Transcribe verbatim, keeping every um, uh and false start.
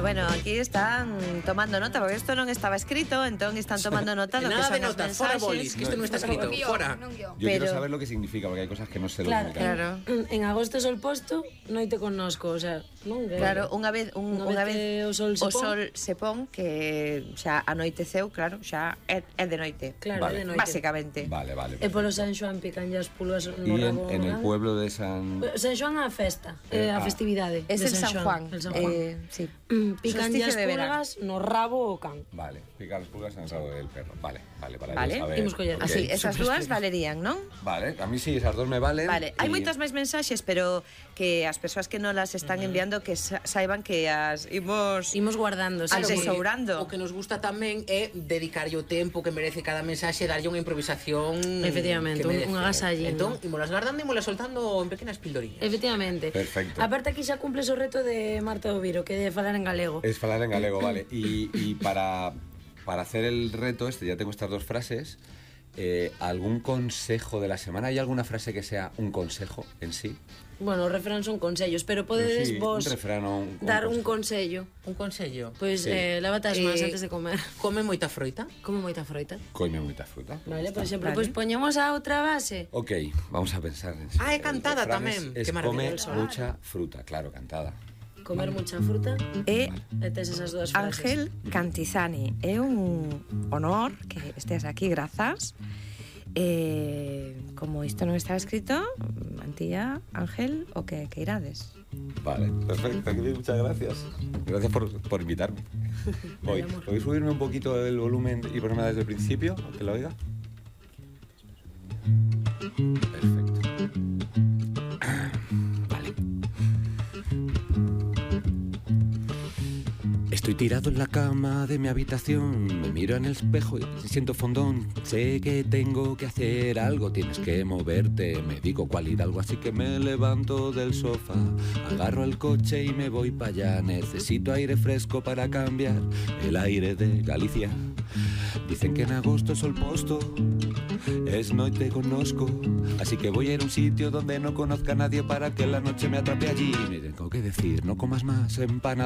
bueno, aquí están tomando nota, porque esto non estaba escrito, entón están tomando nota do que Nada son de as notas, mensaxes. fora bolis, que isto non está escrito, Guión, fora. non guión. Yo quiero Pero- saber lo que significa, porque hay cosas que no sé lo Claro, que significan. Claro. En, en agosto sol posto, noite connosco, o sea, non? Claro, unha vez un, Unha unha vez vez que o sol se o pon. sol se pon que xa anoiteceu, claro, xa é, é de noite. Claro, Vale. de noite. Básicamente. Vale, vale. E polo perfecto. San Xoán pican as pulgas no Y en, rabo. en el grande. pueblo de San... San Xoán a festa, Eh, eh, a ah. festividade Es de el San Juan. El San Juan. Eh, sí. Mm, pican Solsticio as de verano. pulgas no rabo o can. Vale, pica las pulgas en el rabo del perro. Vale, vale, para Vale. yo saber. Imos coller. Ok. Así, esas dúas valerían, non? Vale, a mí sí, esas dos me valen. Vale, hai y- moitas máis mensaxes, pero que as persoas que non las están enviando que sa- saiban que as imos Imos guardando, sí, Al sí. tesourando. O que nos gusta tamén é dedicarlle o tempo que merece cada mensaxe, darlle unha improvisación Efectivamente, que un- merece. un agasallín. Entón, imolas guardando e imolas soltando en pequenas pildoriñas. Efectivamente. Perfecto. Aparte aquí xa cumples o reto de Marta Oviro, que é de falar en galego. Es falar en galego, vale. Y, y para, para hacer el reto este, ya tengo estas dos frases. Eh, ¿Algún consejo de la semana? ¿Hay alguna frase que sea un consejo en sí? Bueno, os refrán son consellos, pero podedes Sí, vos un refrán o un- un dar un consejo. consello. Un consello. Pois Sí. eh, lávate as mans Eh, antes de comer. Come moita froita. Come moita froita. Coime mucha fruta. Vale, por exemplo, Vale. pois poñemos a outra base. Ok, vamos a pensar en Ah, é el cantada refrán tamén. Es, Qué es maravilla. come mucha fruta, claro, cantada. Comer mucha fruta. E E tes esas dúas frases. Ángel Cantizani, é un honor que estés aquí, grazas. Eh, como isto non está escrito, Antía, Ángel, o que que irades. Vale, perfecto, muchas gracias. Gracias por, por invitarme. Voy, amor. ¿podéis subirme un poquito el volumen y ponerme desde el principio, aunque lo oiga? Perfecto. Vale. Estoy tirado en la cama de mi habitación, me miro en el espejo y siento fondón. Sé que tengo que hacer algo, tienes que moverte, me digo cuál hidalgo, así que me levanto del sofá, agarro el coche y me voy para allá. Necesito aire fresco para cambiar el aire de Galicia. Dicen que en agosto sol posto es noite conozco, así que voy a ir a un sitio donde no conozca a nadie para que la noche me atrape allí. Me tengo que decir, no comas más empanadas.